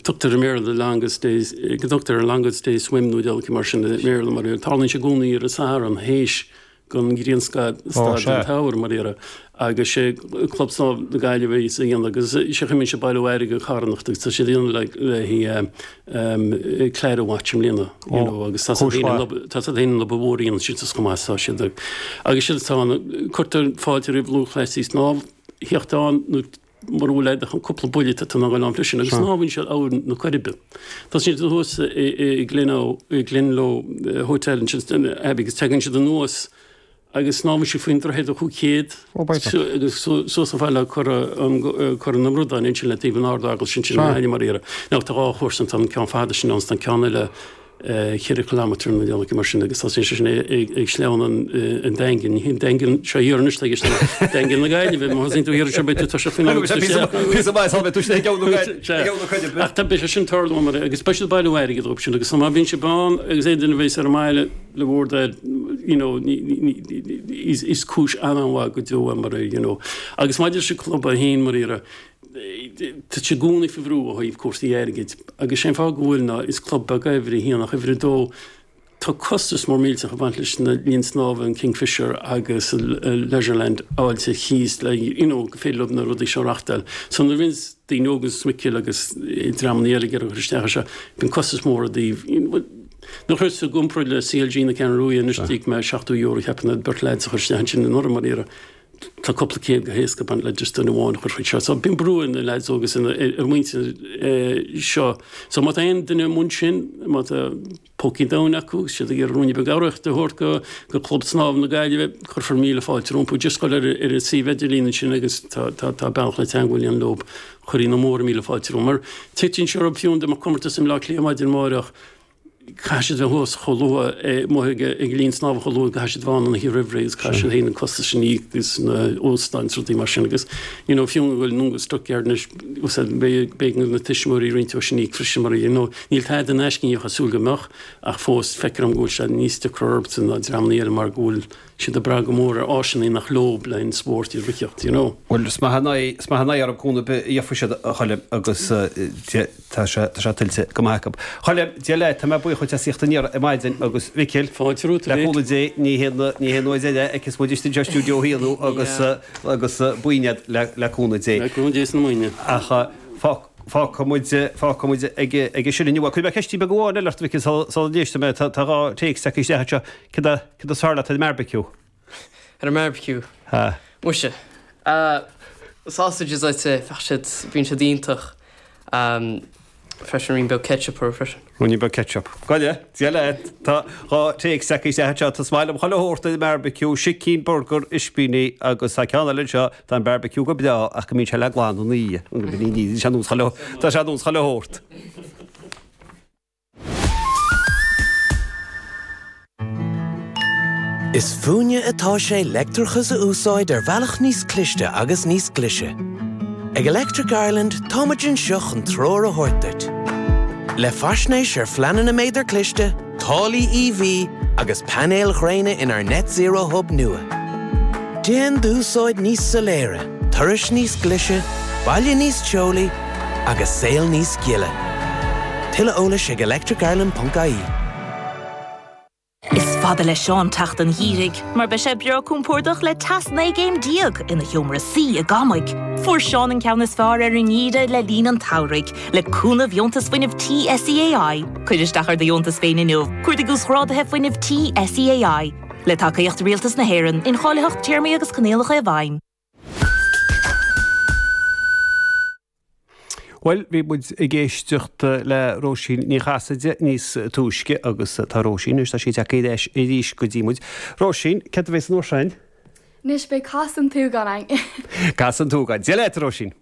Tugtar i mBéarla the longest days, go dtugtar an longest day swim nó diabhal mar sin i mBéarla mar tarlaíonn sé i gcónaí ar an Satharn théis don ghrianstad den tsamhradh mar dhea agus sé Club Snámha na Gaillimhe a dhéanamh agus sé an chaoi a mbíonn siad ag bailiú airgid carthanachta agus tá siad a dhéanamh le haghaidh Clara Watch i mbliana you know agus tá siad féin an obair mhór a dhéanann siad chomh maith tá siad agus siad atá ann cuirtear fáilte roimh lúthchleasaí snámh theacht ann nó Mura bhfuil ach cúpla buille tá tú in ann a ghoil ann freisin agus snámhann siad Abhainn na Coiribe. Tosaíonn siad thuas i Glenlo Hotel ansin Abbey agus tagann siad anuas agus snámhann siad faoin droichead an 500 agus suas chomh fada le Cora na mBradán ansin le taobh an Ard-Eaglais ansin i nGaillimh mar dhea. Now tá dhá chúrsa ann, tá an ceann fada sin ann is tá an ceann eile cheithre chileámeter nó rud éigin mar sin agus tosaíonn sé sin ag Sleamhain an Daingin. Ní hé an Daingean seo thiar anois tá Daingean na Gaillimhe, má thosaíonn tú thiar anseo beidh tú toiseacht faoin am agus Píosa maith sula mbeidh tú istigh i gceann na Coiribe. Ach tá beidh sé sin tarlú mar agus beidh siad ag bailiú airgid dóibh sin agus má bhíonn sibh ann agus aon duine a bheas ar an mbaile le bhur dtoil you know is cúis an-mhaith go deo é mar you know. Agus maidir leis an club é féin mar dhea Tá sé i gcónaí faoi bhrú ó thaobh cúrsaí airgid agus sé an fáth go bhfuil ná is club beag é uimhir a haon ach uimhir a dó tá costas mór millteach ag baint leis na linn snámha an Kingfisher agus Leisureland a fháil ar chíos le you know go féidir leo na rudaí seo a reachtáil. So nuair a bhíonns daoine óga is Micil agus dreamanna eile ag iarraidh cur isteach air seo bíonn costas mór i dtaobh you know nuair a chuireas i gcomparáid le CLG na Ceathrún Rua anois d'íoc mé €70 cheapfainn le beirt lads a chur isteach ansin anuraidh mar dhea. Tá cúpla céad go héasca ag baint le just duine amháin a chur chuig seo. So bíonn brú ar na leaids óga sin, ar an muintir seo. So má tá aon duine i mbun sin, má tá pócaí domhain acu agus siad ag iarraidh ruainne beag urraíochta a thabhairt go go Club Snámha na Gaillimhe, cuirfear míle fáilte rompu. Just dul ar ar an suíomh idirlín ansin agus tá tá tá bealach le teagmháil a dhéanamh leo. Chuirfí na móra míle fáilte rompu. Mar titeann sé orthu fiú dá mbeadh comórtas i mBleá Cliath maidin amárach, Caithfidh siad a bheith thuas chomh luath, amuigh ag an linn snámha chomh luath, caithfidh siad a bheith ann an oíche roimh ré agus caithfidh siad féin an costas sin a íoc agus na óstáin is rudaí mar sin agus you know fiú go bhfuil an Óengus Dockyard anois beidh b'éigean do na tuismitheoirí roinnt dó sin a íoc freisin mar you know níl tada in aisce ní bheifeá ag súil go mbeadh ach fós feictear dom go bhfuil sé níos deacra orthu ná dreamanna eile mar go bhfuil siad ag brath go mór ar áiseanna nach leo le an spórt a ritheacht you know. Bhuel is maith an aghaidh is maith an aghaidh orthu cúnamh ar bith a gheobhaidh siad a Choilm agus tá sé tá sé tuillte go maith acu. Choilm, Dia leat, tá mé buíoch dhuit as theacht aniar ar maidin agus Mhicil, Fáilte romhat le cúnamh Dé ní haon ní haon uair eile a fheicfeas muid istigh anseo i stiúideo a haon thú agus agus buíon iad le le cúnamh Dé. Le cúnamh Dé is na maoine. Ach fág fágfaidh muid fágfaidh muid ag ag sin inniu. Cuirfidh mé ceistín beag amháin eile ort Mhicil sula sula n-éistfidh mé tá tá dhá téacs tagtha isteach anseo. Céard a, céard is fearr leat ar an mbearbaiciú? Ar an mbearbaiciú? Ha. Muise. Sausages I'd say, bheadh siad, bíonn siad iontach. Freisin ruainnín beag ketchup orthu freisin. Ruainnín beag ketchup. Go leith, Dia leat. Tá dhá téacs tagtha isteach anseo. Tá is maith liom chuile shórt ar an mbearbaiciú, sicín, burgar, ispíní agus tá ceann eile anseo, tá an bearbaiciú go breá ach go mbíonn sé le glanadh ina dhiaidh. Tá sé ar nós chuile, tá sé ar nós chuile shórt. Is fúinne atá sé leictreachas a úsáid ar bhealach níos cliste agus níos glaise. Ag Electric Ireland táimid anseo chun treoir a thabhairt duit. Le faisnéis ar phleananna méadar cliste, táillí EV agus painéil ghréine inár Net Zero Hub nua. Déan d'úsáid níos soiléire, turais níos glaise, baile níos teolaí, agus saol níos gile. Tuilleadh eolais ag electricireland.ie. Is fada le Seán teacht an gheimhridh, mar beidh sé breá compordach le teas 19 gcéim ina sheomra suí i gCamaigh. Fuair Seán an ceann is fearr ar an ngeimhreadh le linn an tsamhraidh, le cúnamh Dheontas Fuinnimh Tí SEAI. Cuir isteach ar do dheontas féin inniu, cuardaigh Uasghráduithe Fuinnimh Tí SEAI. Le tacaíocht Rialtas na hÉireann, incháilitheacht, téarmaí agus coinníollacha i bhfeidhm. Bhuel, bhí muid ag éisteacht le Róisín Ní Chasaide níos túisce agus tá Róisín anois, tá sí tagtha ar ais arís go dtí muid. Róisín, céard a bheas an uair sin? Anois beidh Cas an tSúgáin againn. Cas an tSúgáin. Dia leat, a Róisín.